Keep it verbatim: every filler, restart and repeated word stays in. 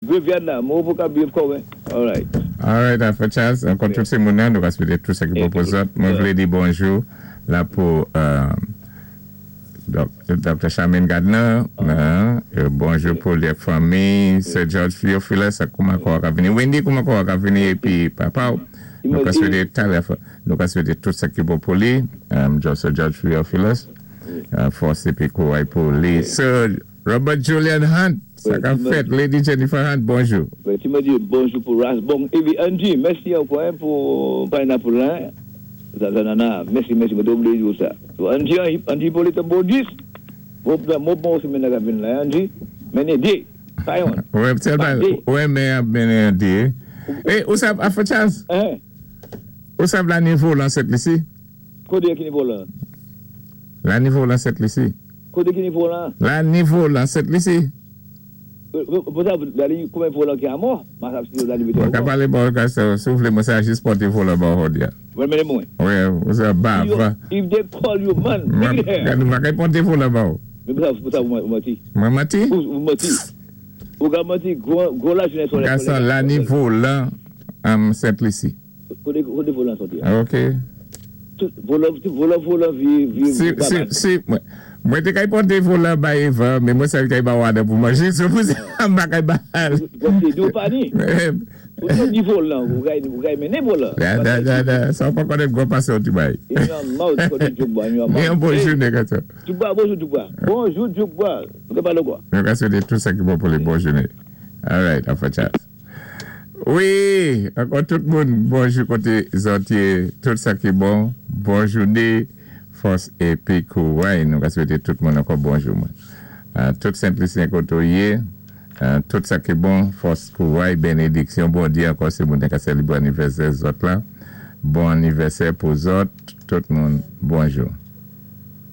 Graveyard la, mwen pou ka biv kouwen. All right. All right, Alpha Charles, ankò tout sé moun nan, nou ka swété tout sa ki bon pou zòt. Mwen vlé di bonjou la pou euh, Dr. Charmaine Gardner, euh, bonjou pou lé fanmi, Sir George Theophilus, kouman kwa ka vini, Wendy kouman kwa ka vini, épi papa, nou ka swété talè, nou ka swété tout sa ki bon pou li, um, Sir George Theophilus, uh, fòs épi kouray pou li. Sir Robert Julian Hunt, sa ka fèt, Lady Jennifer Hunt, bonjou. Tu me dis bonjou pou Ras. Bon, épi Angie, mèsi ankò hein, pou pineapple la. Sa, sa, nana, mèsi, mèsi, mwen té oubliyé sa. So, Angie, Angie Hippolyte Baudis, bon, bon, bon, sé men ka vin la, Angie, mennen dé, pa youn. Wè, wè, men, mennen dé. Eh, ou sav, Alpha Charles? Hein? Ou sav la nivo lan Sent Lisi? Koté ki nivo la? La nivo lan Sent Lisi. Koté ki nivo la? La nivo lan Sent Lisi. Pou sa, koumen volan ki amò? Mwen ka palé bon, si ou vlé mwen sa jis pòté volan ba ou ya. Mwen mennen mwen. Wè, ou sa ba, va. If they call you man, bring it here. Mwen ka pòté volan ba ou. Mwen pou sa ou manti. Mwen manti? Ou manti. Ou ka manti, gwo la jounen solè. Gason, la nivo lan am Sent Lisi. Koté volan soti ya. Ok. Volan, volan, volan, vi, vi. Si, si, si, mwen té kay pòté volan ba Eva, men mwen sa kay ba wada pou manje, so pou sa mba kay ba al. Gwa di ou pa ni. Ou se ni volan, ou kay mennen volan. Da, da, da, da, sa ou pa konnen gwo pasé ou ti bay. Yon mouth koté Djoukba, yon mouth. Yon bonjou nèg ato. Djoukba, bonjou Djoukba. Bonjou Djoukba. Nou ka pale kwa? Nou ka swété tout sa ki bon pou li bon jounen. All right, Alpha Charles. Wi, ankò tout moun, bonjou koté zòt yé, tout sa ki bon, bon jounen, fòs épi kouray, nou ka swété tout moun ankò bonjou mwen. Tout Sent Lisyen koté ou yé, tout sa ki bon, fòs kouray, bénédiksyon, Bondyé ankò sé moun ka sélébwé anivèsè zòt la. Bon anivèsè pou zòt, tout moun, bonjou.